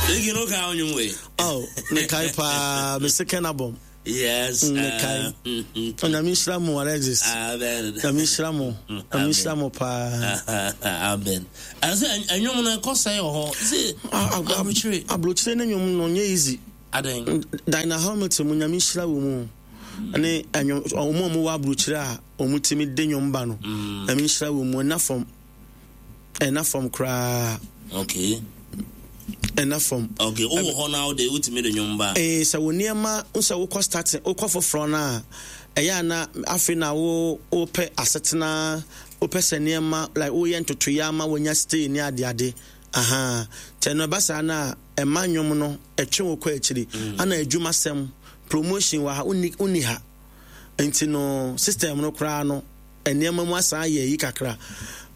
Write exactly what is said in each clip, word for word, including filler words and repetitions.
Igi no ka ɔnwom wei. Oh, mekae paa, me second album. Yes. Mekae. Onyame nhyira mo, Alexis. Amen. Nyame nhyira mo. Nyame nhyira mo paa. Amen. Ɛsɛ ɛnwom no ɛkɔ sɛ wɔ hɔ. Sɛ aburokyire. Aburokyire ne nwom no nyɛ easy. Adan. Dinah Hamilton mo, Nyame nhyira wɔ mu. Ne ɛnwom ɔmo a ɔmo wɔ aburokyire a ɔmo timi de nwom ba no. Nyame nhyira wɔ mu, ɛna fam. Ɛna fam koraa. Okay. Ɛna fam. Okay, wowɔ hɔ na wode wotumi de nwom ba. Eh, sɛ wo nneɛma sɛ wokɔ starting, wokɔ foforɔ no a, ɛyɛ a na afei na wo wopɛ asetena, wopɛ sɛ nneɛma like woyɛ ntotoeɛ ama woanya stay ne adeade. Aha. Nti ɛno ɛba saa no a, ɛma nnwom no ɛtwe wo kɔ akyiri. Ana adwumasɛm, promotion wɔ ha, wonni wonni ha. Nti no system no koraa no, nneɛma mu asan ayɛ yi kakra.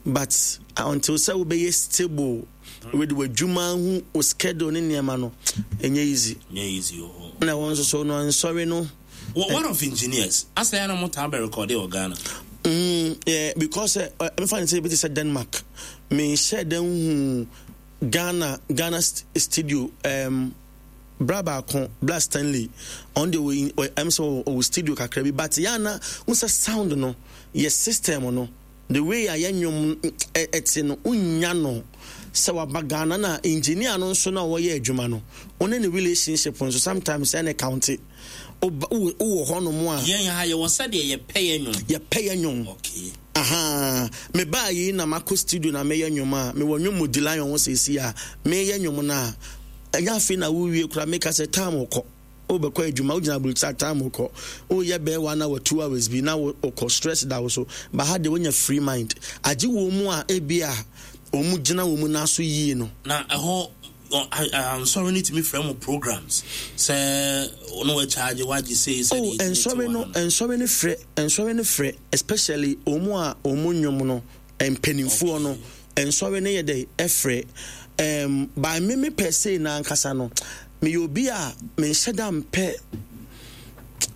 But until sɛ wobɛyɛ stable with w'adwuma ho, wo schedule ne nneɛma no, ɛnyɛ easy. Nyɛ easy wɔ hɔ. Na wɔn nso so no nsɔre no. What, what of engineers? Asɛ ya na mo taa bɛ record wɔ Ghana. Mm, yeah, because uh, mefa ne sɛ ebi te sɛ Denmark. Menhyɛ dan hu Ghana Ghana st studio, um, bra baako, Bla Stanley, ɔno deɛ wɔ ɛm sɛ ɔwɔ studio kakra bi, but yɛ ana wo sɛ sound no yɛ system no, the way a yɛ nnwom ɛte no, wonya no sɛ waba Ghana na engineer no nso na ɔyɛ adwuma no, ɔne ne relationship nso sometimes ɛne count. Wowɔ hɔ nom a, yɛn ha yɛwɔ sɛdeɛ yɛpɛ yɛ nnwom. Yɛpɛ yɛ nnwom. Okay. Aha, mebaa yi na makɔ studio na meyɛ nnwom a, mewɔ nnwom mu di Lion ho seesi a meyɛ nnwom no a, ɛnyɛ afei na wowie koraa meka sɛ time kɔ, wobɛkɔ adwuma, wogyina aburokyire time kɔ, woyɛ bɛyɛ one hour, two hours bi na wokɔ, stress da wo so. Ba ha deɛ wonya free mind, agye wɔ mu a ebi a wɔn gyina wɔn nan so yie no. Na ɛhɔ nsɔre no tumi frɛ mo programs sɛ no wɔakyagye wagye sei sɛ Oh, nsɔre no, nsɔre no frɛ, nsɔre no frɛ, especially wɔn a wɔn nnwom no mpanimfoɔ no, nsɔre no yɛ dɛ ɛfrɛ. um, by me me pɛ sei na ankasa no, meyɛ obi a menhyɛ da mpɛ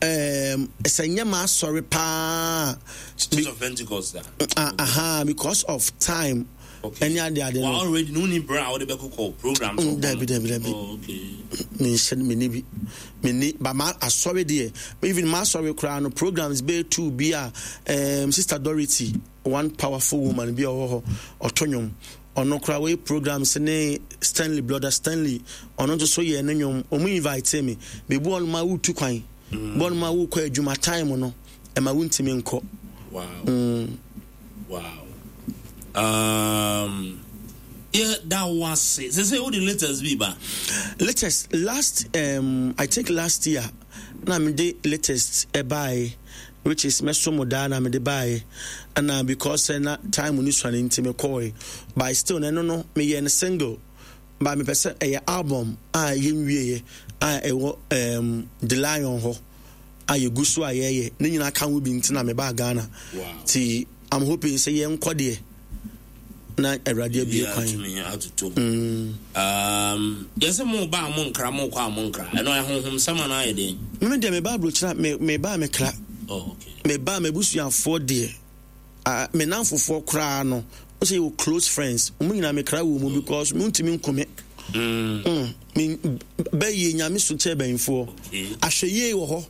um, sɛ nyɛ ma asɔre paa. Church of Pentecost da. Aha, because of time. Okay. Ɛne ade ade no. Wa already no ni bra a wode bɛkɔkɔ programs. Mm, dabi dabi dabi. Oh, okay. Menhyɛ no, menni bi, menni ba ma asɔre deɛ, even ma asɔre koraa no, programs bɛyɛ two bi a um, Sister Dorothy, one powerful woman bi a ɔwɔ hɔ, ɔto nnwom, ɔno koraa wɔyɛ programs ne Stanley, Brother Stanley, ɔno nso so yɛ ne nnwom, ɔmo invite me beebi wɔn ma wotu kwan mm. bɔn ma wokɔ adwuma time no ɛma wontumi nkɔ. Wow. Mm. Wow. Um, yeah, that was it. They say all the latest be ba. Latest last, um I think last year na me de latest ɛbae, which is mɛso mo daa na me de bae, ɛna because na time ni suane nti me kɔe, but still no no me yɛ no single, but me pɛ sɛ ɛyɛ album a yɛnwieɛ a ɛwɔ um, The Lion hɔ a yɛgu so a yɛyɛ ne nyinaa ka ho bi nti na mebaa Ghana. Wow. Nti I'm hoping sɛ yɛnkɔ deɛ na Awurade abue kwan. Atumi atoto mu. Um, yɛsɛ mo ba a mo nkra, mo kɔ a mo nkra. Ɛno ɛhonhom sɛm anaa ayɛ den? Meme deɛ meba aburokyerɛ a, me meba a mekra. Oh, okay. Meba m'abusuafoɔ deɛ, uh, me namfofoɔ koraa no, wo sɛ yɛwɔ close friends, wɔn nyinaa mekra wɔ mu because mentumi nkome. Mm. Mm. Me bɛyie Nyame so kyɛ bɛnfoɔ. Okay. Ahwɛ yie wɔ hɔ.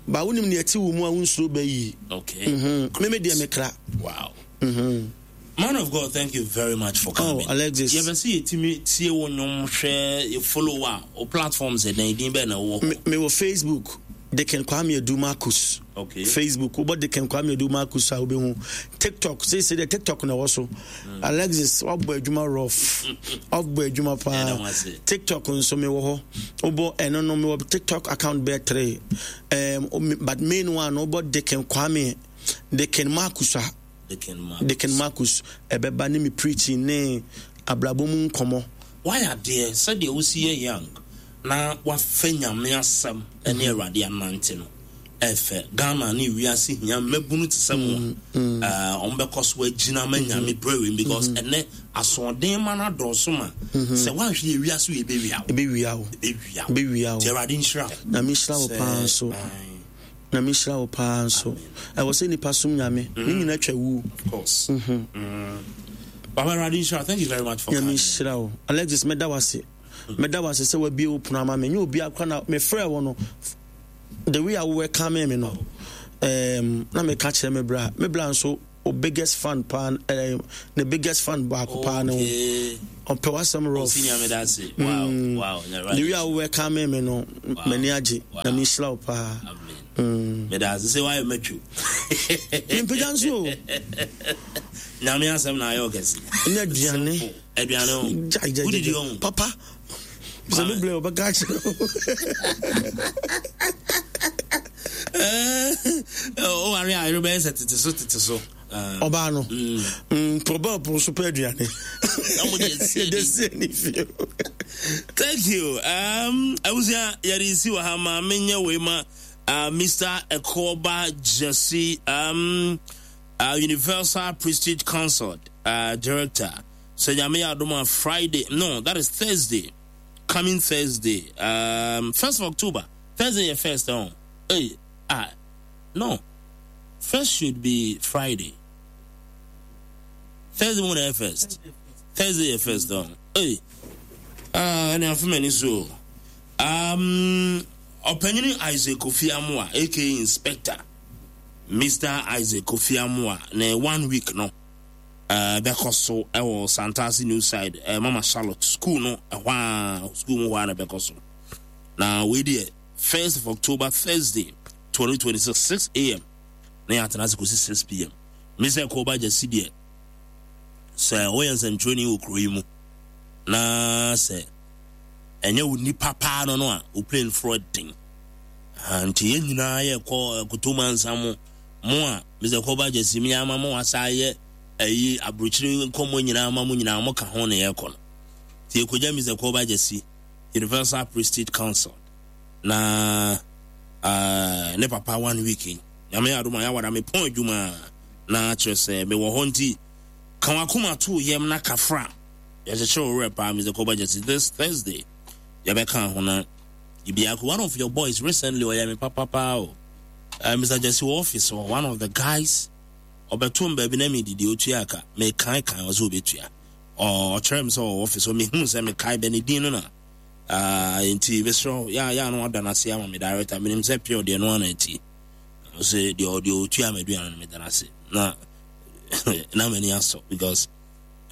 Ba wonim nea ɛte wo mu a wonsuro bɛyie. Okay. Mm-hmm. Meme deɛ mekra. Wow. Mm-hmm. Man of God, thank you very much for coming. Oh, Alexis. Yɛbɛ sɛ yɛtumi tie wo nnwom, hwɛ, yɛ follow a, wo platforms ɛdɛn, din bɛn na wowɔ hɔ? Me wɔ Facebook, Deacon Kwame Adu Marcus. Okay. Facebook, wobɔ Deacon Kwame Adu Marcus a wobɛhu. TikTok, seesei deɛ TikTok na ɛwɔ so. Mm. Alexis, wabɔ adwuma rough. Wabɔ adwuma paa. TikTok nso mewɔ hɔ. Wobɔ ɛno no, mewɔ TikTok account bɛyɛ three. Um, but main one, wobɔ Deacon Kwame, Deacon Marcus a. Deacon Marcus ɛbɛba ne me preaching ne abrabɔ mu nkɔmmɔ. Wayɛ adeɛ sɛdeɛ wosi yɛ young na wafa Nyame asɛm ne Awurade anante no ɛfɛ. Ghana ne wiase hia mmabunu te sɛ mo a ɔmo bɛkɔ so agyina ma Nyame brɛ, because ɛnɛ asoɔden ma no adɔɔso ma sɛ woanhwɛ yɛ wiase wɔ ebɛwia wo. Ebɛwia wo. Ebɛwia wo. Ebɛwia wo. Nti Awurade nhyira wo. Nyame nhyira wo paa nso. Nyame nhyira wo paa nso. Ɛwɔ sɛ nipa som Nyame. Ne nyinaa twa wu. Of course. Mm. Baba, Awurade nhyira. Thank you very much for Nyame coming. nhyira wo. Alexis, mɛda wo ase. Meda wo ase sɛ wabie wo pono ama me. Nyɛ obi akora na mefrɛ wo no, the way a wowɛka me me no, um, na meka kyerɛ me bra. Me bra nso o biggest fan paa, eh, ne biggest fan baako paa ne ho. Ɔpɛ w'asɛm rough. Mm. The way a wowɛka me me no, m'ani agye na mehyira wo paa. Meda ase sɛ woayɛ matwo. Mempagya nso o. Nyame asɛm na ayɛ ɔkɛse. Ne aduane. Aduane ho. Gyae gyae. Wodidi ho. Papa. Sɛ me blɛ ɔbɛka akyerɛ wo. Woware a yere bɛyɛ sɛ tete so tete so. Ɔbaa no. Mprɔbɛ ɔpo so pɛ aduane. Yɛde sie ne fie. Thank you. Um, abusua yɛde si wɔ ha ma menyɛ wei ma uh, Mister Ekoba Jesse, um, uh, Universal Prestige Consult uh, Director. So Nyame adom a Friday, no, that is Thursday, coming Thursday, um, first of October. Thursday your first, oh, hey, ah, no, first should be Friday. Thursday morning first. Thursday first, oh, hey, ah, and I'm from so, um, Ɔpanyini Isaac Kofi Amoah, aka Inspector, Mister Isaac Kofi Amoah, ne one week no, uh, bɛkɔ so ɛwɔ Santasi New Side, uh, Mama Charlotte school no, ɛhɔ a school mu hɔ a na bɛkɔ so. Na wei deɛ first of October Thursday twenty twenty-six, six a m na yɛatena ase kɔsi six p m. Mister Koba Gyasi deɛ, sɛ woyɛ nsɛntwerɛni wɔ kuro yi mu na sɛ ɛnyɛ wo nipa paa no no a, wo plane forɔ den. Nti yɛn nyinaa yɛkɔ Kotoma nsa mo, mo a Mister Koba Gyasi mi ama mo asa yɛ ayi aburokyire nkɔmmɔ nyinaa ama mo nyinaa mo ka ho na yɛkɔ no. Nti yɛkɔgya Mister Koba Gyasi, Universal Prestige Council, na uh, ne papa one week yi. Nyame adom a yɛawada me pɔn adwuma na kyerɛ sɛ mewɔ hɔ nti ka wakoma to yam na kafra. Yɛhyehyɛ wo werɛ paa Mister Koba Gyasi this Thursday. Yɛbɛka ho na Ibiako, one of your boys recently ɔyɛ me papa paa o. Uh, Mister Gyasi wɔ office hɔ, one of the guys ɔbɛto m baabi na medidi otua aka. Mekae kan ɔsɛ obetua. Ɔkyerɛ me sɛ ɔwɔ office hɔ, mehu sɛ mekae bɛ ne din no na. Uh, nti mesrɛ ya ya no ada n'ase ama me director. Menim sɛ pure deɛ no ana ati. Ɔsɛ deɛ deɛ otua m'aduane no meda n'ase. Na na m'ani asɔ because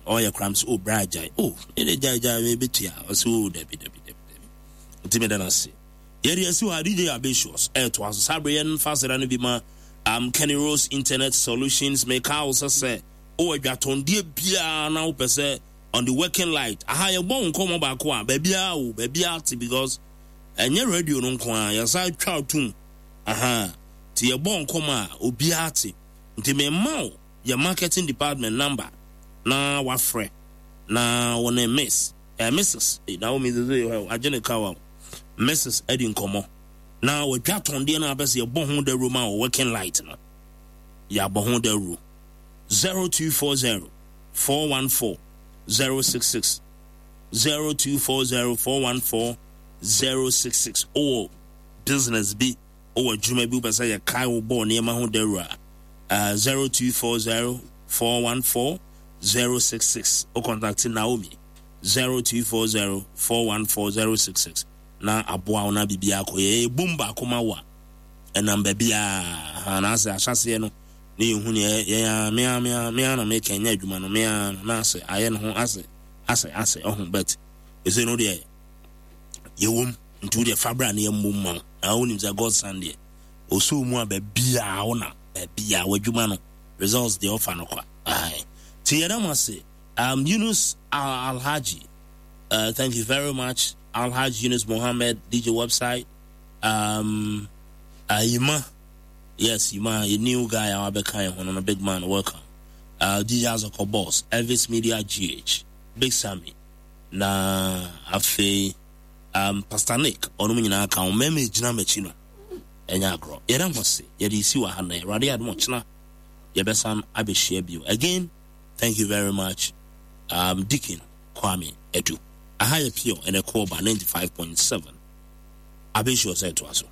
ɔyɛ kram sɛ oh bra gyae. Oh, ɛde gyae gyae me betua. Ɔsɛ oh dabi dabi dabi dabi. Nti meda n'ase. Yɛde asi hɔ a D J Abesios ɛɛtoa so. Saa bere yɛn fa aseda no bi ma um, Kenny Rose Internet Solutions. Meka wo sɛ sɛ wowɔ adwatɔndeɛ biara na wopɛ sɛ on the working light. Aha yɛbɔ wo nkɔmmɔ baako a baabiara wo baabiara te because ɛnyɛ radio no nko a yɛsa twa tum. Aha nti yɛbɔ nkɔmmɔ a obiara te. Nti memma wo yɛ marketing department number na wafrɛ na wo ne miss eh, Missus na wo Missus agye ne ka wa Missus adi nkɔmmɔ na wadwa tɔndeɛ no apɛ sɛ yɛbɔ ho dawuro ma wɔ working light no yɛabɔ ho dawuro zero two four zero four one four zero six six zero two four zero four one four zero six six. Owɔ business bi owɔ adwuma bi wopɛ sɛ yɛkae wo bɔɔ nneɛma ho dawuro a zero two four zero four one four zero six six. O contact Naomi zero two four zero four one four zero six six. Na aboa wo na bibia akɔ yɛ ebom baako ma wo a ɛnam baabi a na asɛ ahyɛseɛ no ne yɛhu ne yɛ mea mea mea na meka nyɛ adwuma no mea na asɛ ayɛ ne ho asɛ asɛ asɛ ɔho bet ɛsɛ no deɛ yɛwom nti wo deɛ fabra ne yɛmmom ma wo na wonim sɛ God son deɛ ɔsɔ mu a baabi a wo na baabi a w'adwuma no results deɛ ɔfa no kwa. Aye. Ti yɛda mo ase. Um, Yunus Alhaji, uh, thank you very much. Alhaji Yunus Mohammed, D J website. Um, uh, Yima, yes, Yima, a new guy, our big man, welcome. Uh, D J Azoko Boss, Elvis Media G H, Big Sammy, na Afe, um, Pastor Nick, onu nyina ka o meme gina machi no. Enya agro. Yeda mo se, yede si wa ha na Awurade adom ochena. Yebesan abehia bio. Again, thank you very much. Um, Deacon Kwame Edu. Aha ye pure and a call by ninety-five point seven. Abesho said to us.